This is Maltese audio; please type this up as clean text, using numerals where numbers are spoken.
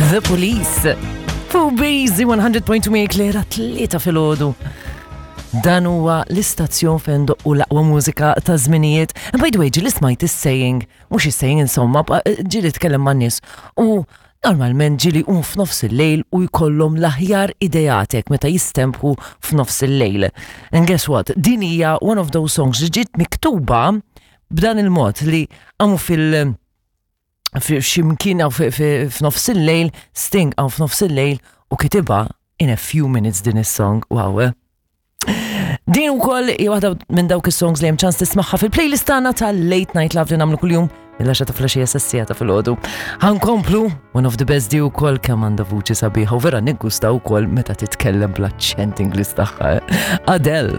The Police. Fuq Busy 100.2 Klera tlieta filgħodu. Dan huwa l-istazzjon fejn doqqu l-aqwa mużika ta' żminijiet. And by the way, ġieli smajt is-saying, mhux is-saying insomma, ġieli tkellem man-nies u normalment ġieli jqum f'nofs il-lejl u jkollhom l-aħjar ideatek meta jistempħu f'nofs il-lejl. And guess what? Din hija one of those songs li ġiet miktuba b'dan il-mod li għamu fil- f'ximkien f'nofs il-lejl, Sting għaw f'nofs il-lejl u kitibha in a few minutes din is-song. Wow, eh? Din ukoll hija waħda minn dawk is-songs li hemm ċans tismagħha fil-playlist tagħna tal-Late Night Love li nagħmlu kuljum mill-10 ta' filgħaxija sas-siegħa ta' filgħodu. Ħankomplu one of the best di wkoll kemm għandha vuċi sabiħa u vera niggusta wkoll meta titkellem bl-aċċent Ingliż tagħha. Eh? Adele.